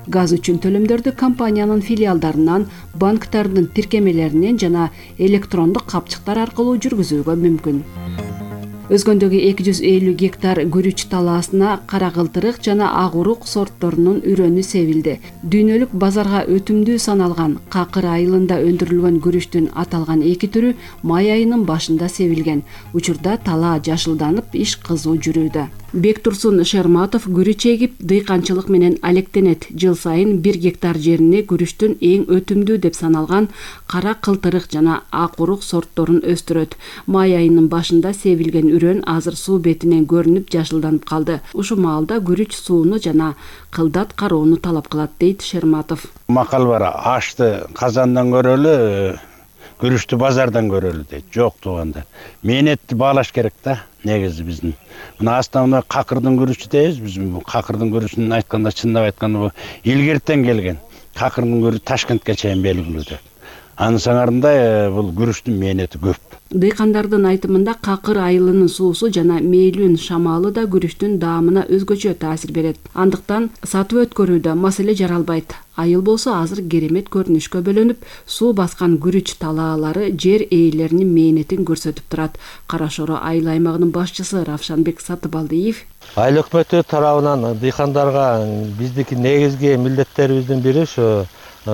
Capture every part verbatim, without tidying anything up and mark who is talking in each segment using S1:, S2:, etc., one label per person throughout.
S1: Газ үчүн төлөмдөрдү компаниянын филиалдарынан, банктардын тиркемелеринен жана электрондук капчыктар аркылуу жүргүзүүгө мүмкүн. Өзгөндөгү эки жүз элүү гектар күрүч талаасына кара кылтырык жана ак урук сортторунун үрөнү себилди. Дүйнөлүк базарга өтүмдүү саналган какыр айылында өндүрүлгөн күрүчтүн аталган эки түрү май айынын башында себилген. Учурда талаа жашылданып, иш кызуу жүрүүдө. Бектурсун Шерматов күрүч эгип, дыйканчылык менен алектенет. Жыл сайын бир гектар жерине күрүчтүн эң өтүмдүү деп саналган кара кылтырык жана ак урук сортторун өстүрөт. Май айынын башында себилген үрөн азыр суу бетинен көрүнүп жашылданып калды. Ушул маалда күрүч сууну жана кылдат кароону талап кылат, дейт Шерматов.
S2: Макал бар, ашты казандан көрөлү, күрүчтү базардан көрөлү дейт. Жок туугандар. Мээнетти баалаш керек да. Негизи биздин мына астана какырдын күрүчү дейбиз биз. Бул какырдын күрүчүн айтканда, чындап айтканда бул илгертен келген. Какырдын күрүчү Ташкентке чейин белгилүү. Анын саңарында бул күрүчтүн мээнети көп.
S1: Дыйкандардын айтымында какыр айылынын суусу жана мейлүүн шамалы да күрүчтүн даамына өзгөчө таасир берет. Андыктан сатып өткөрүүдө маселе жаралбайт. Айыл болсо азыр керемет көрүнүшкө бөлөнүп, суу баскан күрүч талаалары жер ээлеринин мээнетин көрсөтүп турат. Кара Шоро айыл аймагынын башчысы Равшанбек Сатыбалдиев
S3: айыл өкмөтү тарабынан дыйкандарга биздики негизги милдеттерибиздин бири ушу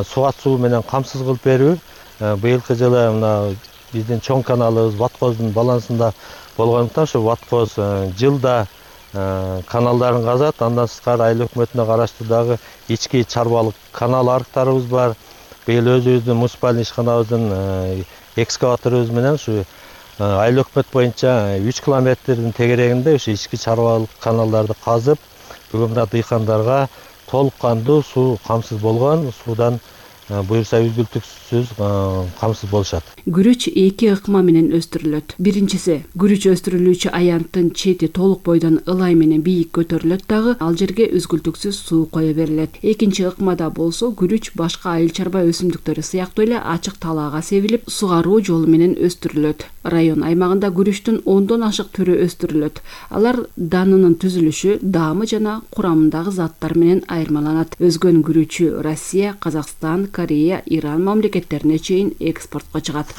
S3: суат суу менен камсыз кылып берүү. Быйылкы жылы мына биздин чоң каналыбыз Ваткоздун балансында болгондуктан ушу Ваткоз жылда каналдарын казат. Андан сырткары айыл өкмөтүнө караштуу дагы ички чарбалык канал арыктарыбыз бар. Быйыл өзүбүздүн муниципалдык ишканабыздын экскаваторубуз менен ушу айыл өкмөт боюнча үч километрдин тегерегинде ушу ички чарбалык каналдарды казып, бүгүн мына дыйкандарга толук кандуу суу камсыз болгон, суудан буюрса үзгүлтүксүз камсыз болушат.
S1: Күрүч эки ыкма менен өстүрүлөт. Биринчиси, күрүч өстүрүлүүчү аянттын чети толук бойдон ылай менен бийик көтөрүлөт дагы, ал жерге үзгүлтүксүз суу кое берилет. Экинчи ыкмада болсо күрүч башка айыл чарба өсүмдүктөрү сыяктуу эле ачык талаага себилип, сугаруу жолу менен өстүрүлөт. Район аймагында күрүчтүн ондон ашык түрү өстүрүлөт. Алар данынын түзүлүшү, даамы жана курамындагы заттар менен айырмаланат. Өзгөн күрүчү Россия, Казакстан, Корея, Иран мамлекеттерине чейин экспортко чыгат.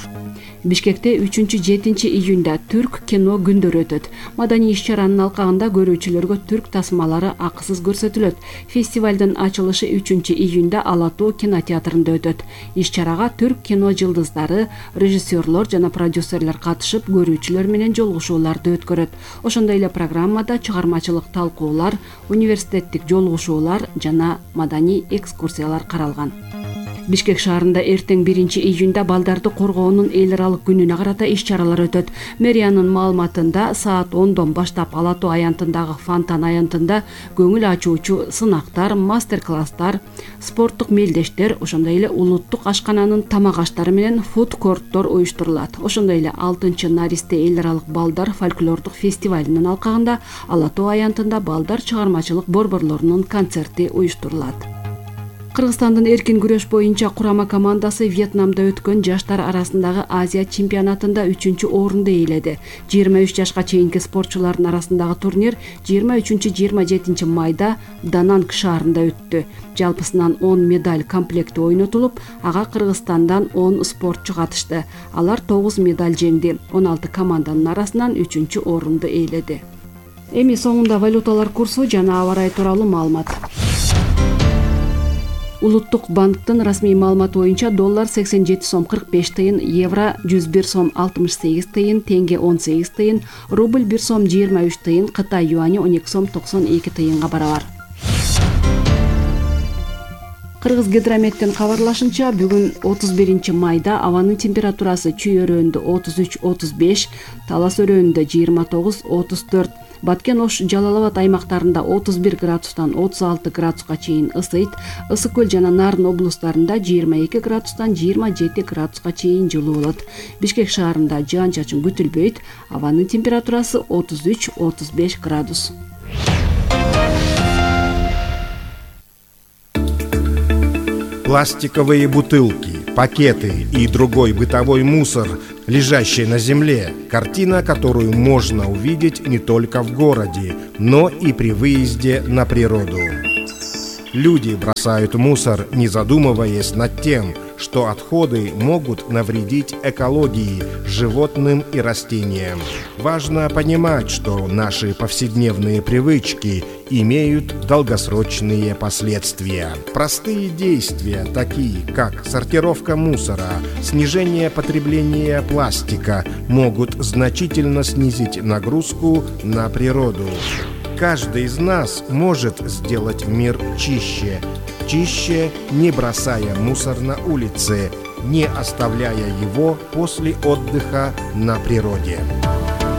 S1: Бишкекте үчүнчү жетинчи июнда түрк кино күндөрү өтөт. Маданий иш-чаранын алкагында көрүүчүлөргө түрк тасмалары акысыз көрсөтүлөт. Фестивалдын ачылышы үчүнчү июнда Ала Тоо кинотеатрында өтөт. Иш-чарага түрк кино жылдыздары, режиссерлор жана продюсерлер катышып, көрүүчүлөр менен жолугушууларды өткөрөт. Ошондой эле программада чыгармачылык талкуулар, университеттик жолугушуулар жана маданий экскурсиялар каралган. Бишкек шаарында эртең биринчи июнда балдарды коргоонун эл аралык күнүнө карата иш-чаралар өтөт. Мэриянын маалыматында саат ондон баштап Ала Тоо аянтындагы Фонтан аянтында көңүл ачуучу сынактар, мастер-класстар, спорттук мелдештер, ошондой эле улуттук ашкананын тамак аштары менен фуд-корттор уюштурулат. Ошондой эле алтынчы Наристе эл аралык балдар фольклордук фестивалынын алкагында Ала Тоо аянтында балдар чыгармачылык борборлорунун концерти уюштурулат. Кыргызстандын эркин күрөш боюнча курама командасы Вьетнамда өткөн жаштар арасындагы Азия чемпионатында үчүнчү орунду ээледи. жыйырма үч жашка чейинки спортчулардын арасындагы турнир жыйырма үчүнчү — жыйырма жетинчи майда Дананг шаарында өттү. Жалпысынан он медаль комплекти ойнотулуп, ага Кыргызстандан он спортчу катышты. Алар тогуз медаль жеңди. он алты команданын арасынан үчүнчү орунду ээледи. Эми соңунда валюталар курсу жана аба ырайы тууралуу маалымат. Улуттук банктын расмий маалыматы боюнча доллар сексен жети сом кырк беш тыйын, евро жүз бир сом алтымыш сегиз тыйын, тенге он сегиз тыйын, рубль бир сом жыйырма үч тыйын, Кытай юани он эки сом токсон эки тыйынга барабар. Кыргыз гидрометтин кабарлашынча, бүгүн отуз биринчи майда абанын температурасы Чүй өрөөнүндө отуз үч — отуз беш, Талас өрөөнүндө жыйырма тогуз — отуз төрт, Баткен, Ош, Жалал Абад аймактарында отуз бир градустан отуз алты градуска чейин ысыйт. Ысык көл жана Нарын облустарында жыйырма эки градустан жыйырма жети градуска чейин жылуу болот. Бишкек шаарында жаан-чачын күтүлбөйт. Абанын температурасы отуз үч — отуз беш градус.
S4: Пластиковые бутылки, пакеты и другой бытовой мусор, лежащий на земле. Картина, которую можно увидеть не только в городе, но и при выезде на природу. Люди бросают мусор, не задумываясь над тем, что отходы могут навредить экологии, животным и растениям. Важно понимать, что наши повседневные привычки имеют долгосрочные последствия. Простые действия, такие как сортировка мусора, снижение потребления пластика, могут значительно снизить нагрузку на природу. Каждый из нас может сделать мир чище. Чище, не бросая мусор на улице, не оставляя его после отдыха на природе.